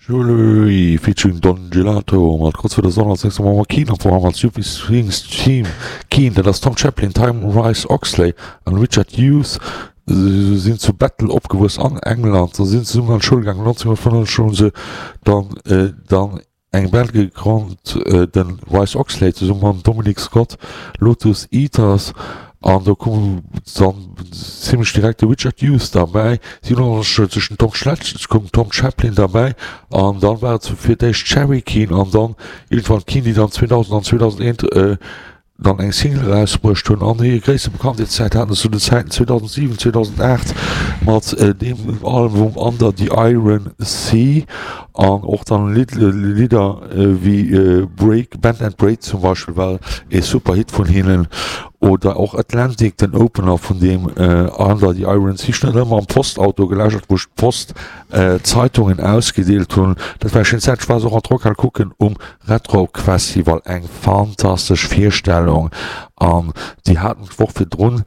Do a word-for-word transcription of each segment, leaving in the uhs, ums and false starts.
Jewellery featuring Don Gelato mat Kurz vor der Sonne. Als nächstes haben wir Keane am Programm als Soupy Swings Team. Keane, dat ass Tom Chaplin, Time Rice Oxley an Richard Hughes, sinn zu Battle opgewuess an England, se sinn zesummen an d'Schoul gaangen. neunzehnhundertfünfundneunzeg hunn se dann dann eng Band gegrond, den Rice Oxley zesumme mam Dominic Scott, Lotus Eaters, an do koum dann zimlech direkt de Richard Hughes derbäi. siebenundneunzeg den Tom Schletz koum den Tom Chaplin derbäi an dann war et fir d'éischt Cherry Keane an dann iergendwann Keane, déi dann zweedausend an zweedausendeent dann eng Single erausbruecht hunn an hir gréisste Bekanntheetszäit haten se zu den Zäiten zweedausentsiwen, zweedausenaacht mat deem Album Under the Iron Sea an och dann Lidder wéi Break, Bend and Break zum Beispill war ee super Hit vun hinnen oder och Atlantic, den Opener vun deem Under the Iron Sea. Ech hunn dat ëmmer am Postauto gelauschtert, wou ech d'Post Zeitungen ausgedeelt hunn. Dat war eng schéin Zäit. Ech war se och an d'Rockhal kucken um Red Rock Festival. Eng fantastesch Virstellung an déi haten d'Woch virdrun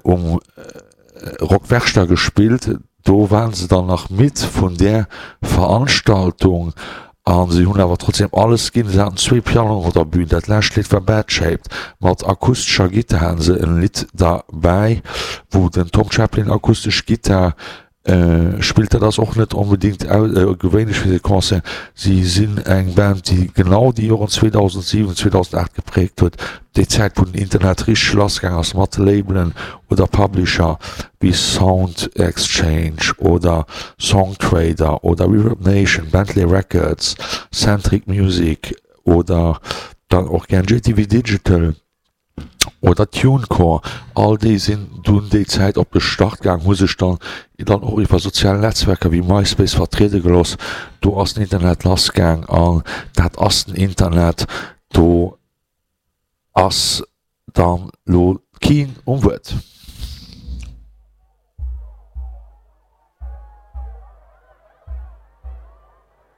um Rock Werchter gespillt. Do waren se dann nach midd vun där Veranstaltung a se hunn awer trotzdem alles ginn. Se haten zwee Pianoen op der Bühn. Dat lescht Lidd war Bad Shaped. Mat akustescher Gittar haten se en Lidd derbäi, wou den Tom Chaplin akustesch Gittar spillt. Dat ass och net onbedéngt gewéinlech fir de Concert. Si sinn eng Band, déi genau déi Joren zweedausentsiwen, zweedausenaacht gepräägt huet, déi Zäit wou den Internet richteg lassgaang ass mat Labelen oder Publisher wéi Sound Exchange oder Songtrader oder Reverb Nation, Bentley Records, Sentric Music oder dann och gär J T V Digital oder TuneCore. All déi sinn dunn déi Zäit op de Start gaang, hu sech dann dann och iwwer sozial Netzwerker wéi MySpace vertriede gelooss. Do ass den Internet lassgaang an dat ass den Internet. Do ass dann lo keen um Wuert.